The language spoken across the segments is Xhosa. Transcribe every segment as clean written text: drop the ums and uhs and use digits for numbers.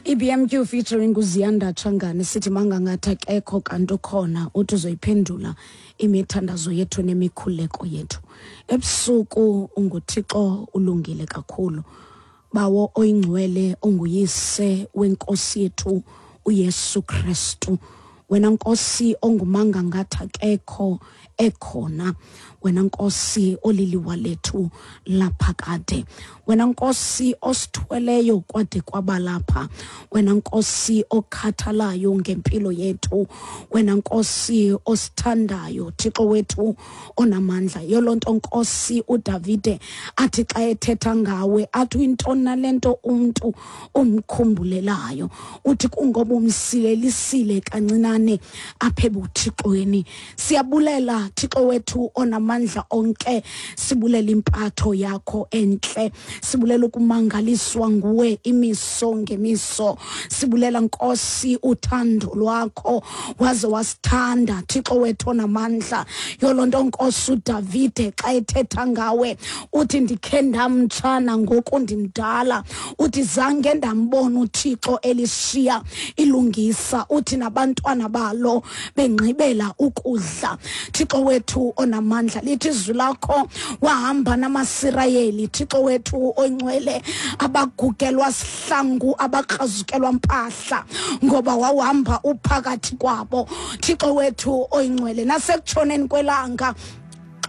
IBMQ featuring uZiyanda Tshangane, sithi mangangathi akekho kanti ukhona, uthi uzoyiphendula imithandazo yethu nemikhuleko yethu. Ebusuku unguThixo, ulungile kakhulu. Bawo oyingcwele, onguyise wenkosi yethu uYesu Kristu. Wena Nkosi ongumanga ngathi akekho ekhona, wena Nkosi oliliwa lethu laphakade, wena Nkosi osithweleyo kwade kwaba lapha, wena Nkosi okhathalayo ngempilo yethu, wena Nkosi osithandayo, Thixo wethu onamandla. Yoloo nto Nkosi uDavide athi xa ethetha ngawe athi uyintoni nale nto umntu umkhumbulelayo, uthi kungoba umsilelisile kancinane apha ebuthixweni. Siyabulela Thixo wethu onamandla onke, sibulela impatho yakho entle, sibulela ukumangaliswa nguwe imiso ngemiso, sibulela Nkosi uthando lwakho, waze wasithanda Thixo wethu onamandla. Yoloo nto Nkosi uDavide xa ethetha ngawe uthi ndikhe ndamtshana ngoku ndimdala, uthi zange ndambona uThixo elishiya ilungisa, uthi nabantwana balo bengqibela ukudla. Thixo wethu onamandla, lithi izwi lakho wahamba namaSirayeli, Thixo wethu oyingcwele, abagugelwa sihlangu, abakrazukelwa mpahla, ngoba wawuhamba uphakathi kwabo, Thixo wethu oyingcwele. Nasekutshoneni kwelanga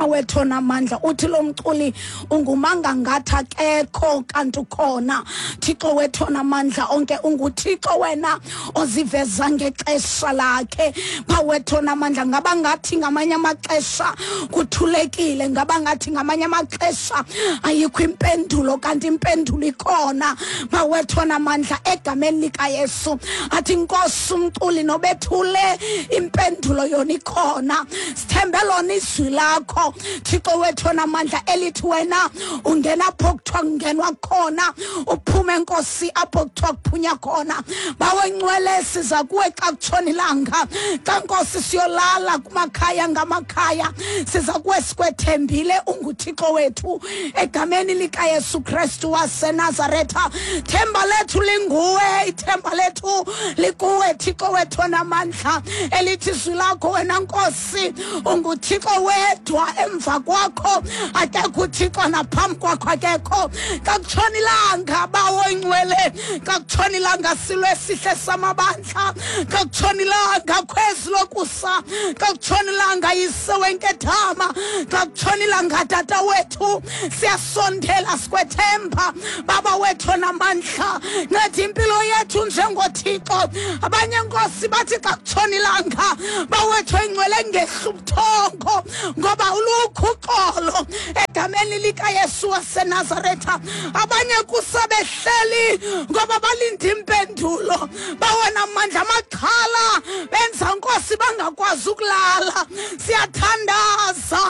wethu onamandla, uthi lo mculi ungumanga ngathi akekho kanti ukhona. Thixo wethu onamandla onke, unguThixo wena oziveza ngexesha lakhe. Bawethu onamandla, ngaba ngathi ngamanye amaxesha kuthulekile, ngaba ngathi ngamanye amaxesha ayikho impendulo, kanti impendulo ikhona. Bawethu onamandla, egameni likaYesu athi Nkosi umculi nobethule, impendulo yona ikhona. Sithembe lona izwi lakho, Thixo wethu onamandla, elithi wena ungena apho kuthiwa kungenwa khona, uphume Nkosi apho kuthiwa kuphunya khona. Bawe ngcwele, siza kuwe xa kutshona ilanga, xa Nkosi siyolala kumakhaya ngamakhaya, siza kuwe sikwethembile, unguThixo wethu. Egameni likaYesu Kristu waseNazaretha, themba lethu linguwe, ithemba lethu likuwe, Thixo wethu onamandla, elithi izwi lakho wena Nkosi unguThixo wedwa, emva kwakho akekho uThixo, naphambi kwakho akekho. Xa kutshona ilanga, Bawo ingcwele, xa kutshona ilanga, silo esihle samabandla, xa kutshona ilanga, khwezi lokusa, xa kutshona ilanga, yise wenkethama, xa kutshona ilanga, tata wethu, siyasondela sikwethemba, Baba wethu onamandla. Nceda impilo yethu njengoThixo. Abanye Nkosi bathi xa kutshona ilanga, bawethu engcwele, ngehla ubuthongo ngoba ulukho uxolo, egameni likaYesu waseNazaretha. Abanye kusabehleli ngoba balinde impendulo, bawona mandla, amaxhala benza Nkosi bangakwazi ukulala. Siyathandaza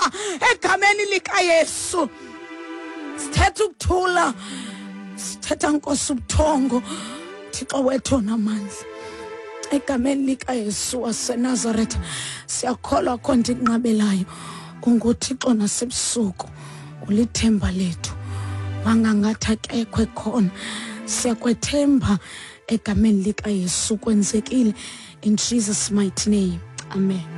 egameni likaYesu, sithetha ukuthula, sithetha Nkosi ubuthongo, Thixo wethu onamandla, egameni likaYesu waseNazaretha. Siyakholwa kho nto inqabelayo, unguThixo nasebusuku, ulithemba lethu, wangangathi akekho ekhona. Siyakwethemba egameni likaYesu, kwenzekile, in Jesus mighty name, amen.